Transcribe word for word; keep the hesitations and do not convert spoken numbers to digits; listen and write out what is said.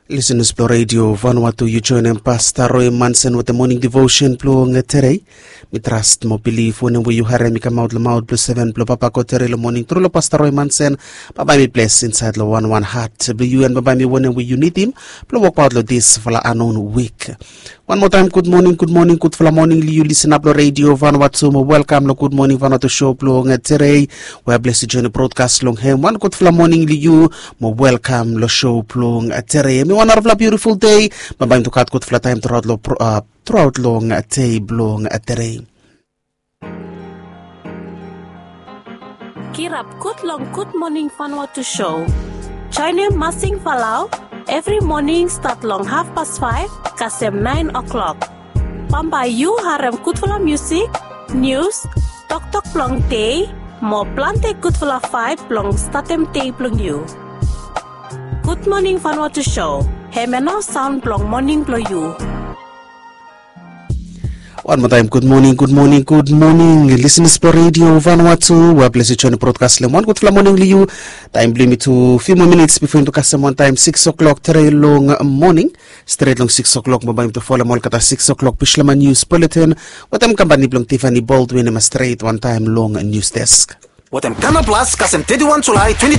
Lisenas blong redio Vanuatu, yu joinim Pasta Roy Mansen wetem moning devotion blong tedei. Mi trast mo bilif wanem we yu harim i kamaot long maot blong seven blong Papa God tedei long moning tru long Pasta Roy Mansen. Bambae mi bles insaed long wanwan hat blong yu, en bambae mi wanem we yu nidim blong wokbaot long disfala anon wik. Wan moa taem gud moning, gud moning, gudfala moning long yu lisenas blong redio Vanuatu, mo welkam long Gud Moning Vanuatu show blong tedei. We bles yu joinim brodkas long hem, wan gudfala moning long yu, mo welkam long show blong tedei. Hem i wan narafala biutiful dei. Bambae mi tu gat gudfala taem truaot long pro- a, truaot long dei blong tedei. Kirap gud long Gud Moning Vanuatu show. Joinim Masing Falau evri moning stat long hafpas faef kasem naen o'klok. Bambae yu harem gudfala miusik, nius, toktok blong dei, mo plante gudfala vaeb blong statem dei blong yu. Gud Moning Vanuatu show, hemia nao saon blong moning blong yu. Wan moa taem gud moning, gud moning, gud moning lisenas blong redio Vanuatu. We bles yu joinim brodkas long hem, wan gudfala moning long yu. Taem blong yumi tu fiu moa minits bifo yumi tu kasem wan taem sikis o'klok tedei long moning. Stret long sikis o'klok bambae yumi tu folem olgeta sikis o'klok Bislama nius buletin wetem kampani blong Tiffany Baldwin. Hem i stret wantaem long nius desk. Wetem Kanal Plus kasem teti wan Julae